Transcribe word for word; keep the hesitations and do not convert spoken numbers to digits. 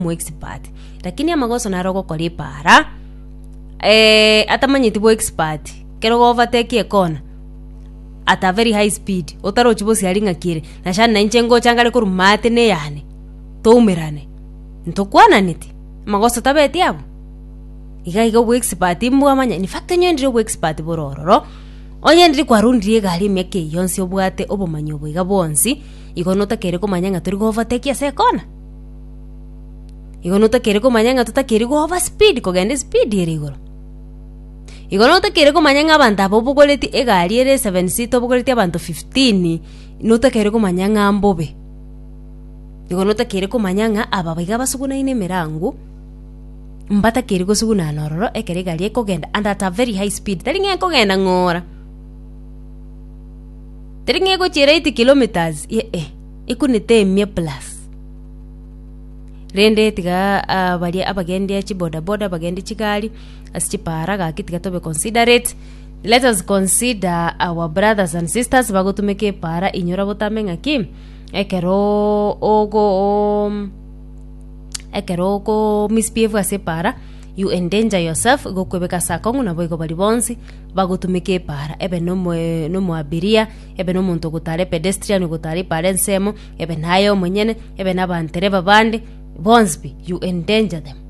Omoexpert, lakini amagoso naro ogokora epaara, atamanyeti boexpert, ekero ogo overtake ekona at a very high speed, otarochi bosiari ng'aki ere, nashani na inche ngocha ngare korwa maate na eyane, toumerane, ntokwananeti, amagoso tabeti abwo. Iga iga oboexpert mbwamanya, in fact onye ndire oboexpert bore ororo, onye ndiri kwarundire egari emiaka eye yonsi obwate obomanyi obo iga bwonsi, igo notakeire komanya ng'a tori go overtake ase ekona. Igo notakeire komanya ng'a totakeiri go over speed kogenda espeed ere igoro. Igo notakeire komanya ng'a abanto aba obogoreti egari ere seven seater obogoretie abanto fifteen, notakeire komanya ng'a mbobe. Igo notakeire komanya ng'a aba iga basugunaine emerango, mbatakeiri gosugunana ororo ekero egari ekogenda and at a very high speed, tari ng'a ekogenda ng'ora, tari ng'a egochiera eighty kilometers eh eh, ekunete emia plus. Rende tiga ah, baria abagendia chibodaboda abagendi chigari ase chipara gaki tiga tobe considerate let us consider our brothers and sisters bagotumeka epara inyora botambe ng'aki ekero ogo ekero oko misbehave ase epara you endanger yourself igo okwebeka ase akong'u nabo igo baria bonsi bagotumeka epara ebe nomoe nomoabiria ebe nomonto ogotara epedestrian ogotara epara ensemo ebe naye omonyene ebe na abantereba bande bonsi pi you endanger them.